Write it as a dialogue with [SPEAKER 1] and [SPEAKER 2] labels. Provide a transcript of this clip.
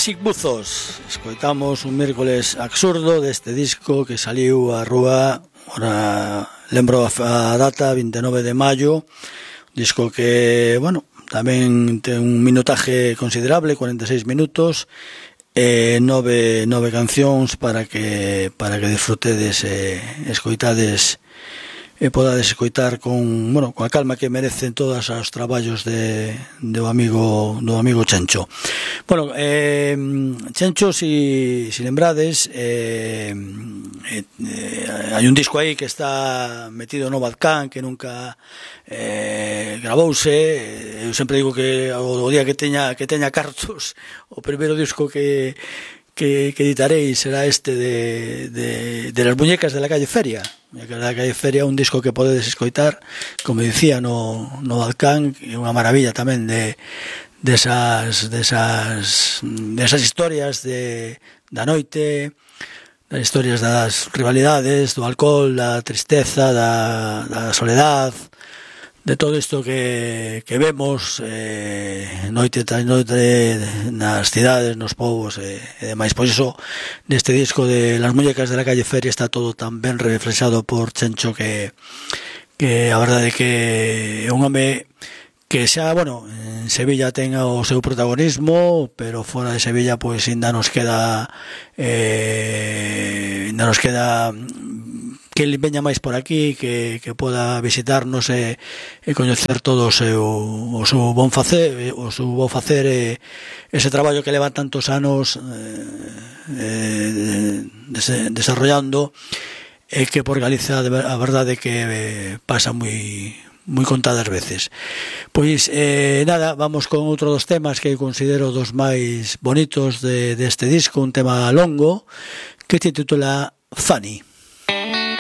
[SPEAKER 1] Music Buzos. Escoitamos un mércoles absurdo deste disco que saliu á rúa, ora lembro a data, 29 de maio, disco que, bueno, tamén ten un minutaje considerable, 46 minutos, nove cancións para que disfrutedes e escoitades e podades escoitar con a calma que merecen todos os traballos do amigo Chencho. Bueno, Chencho, si lembrades, hai un disco aí que está metido no Badcán, que nunca gravouse. Eu sempre digo que o día que teña cartos, o primeiro disco que editarei será este de las muñecas de la calle Feria. Muñecas de la calle Feria, un disco que podedes escoitar, como dicía, no Balcán, é unha maravilla tamén desas historias da noite, das historias das rivalidades, do alcohol, da tristeza, da soledad, de todo isto que vemos noite tras noite nas cidades, nos povos e demais. Pois iso, neste disco de Las muñecas de la calle Feria está todo tan ben reflexado por Chencho que a verdade que é un home que xa, en Sevilla ten o seu protagonismo, pero fora de Sevilla pois ainda nos queda que ele veña máis por aquí, que poda visitarnos e coñecer todo o seu bon facer, ese traballo que leva tantos anos desarrollando, e que por Galicia a verdade que pasa moi contadas veces. Pois nada, vamos con outro dos temas que considero dos máis bonitos deste disco, un tema longo que se titula Funny.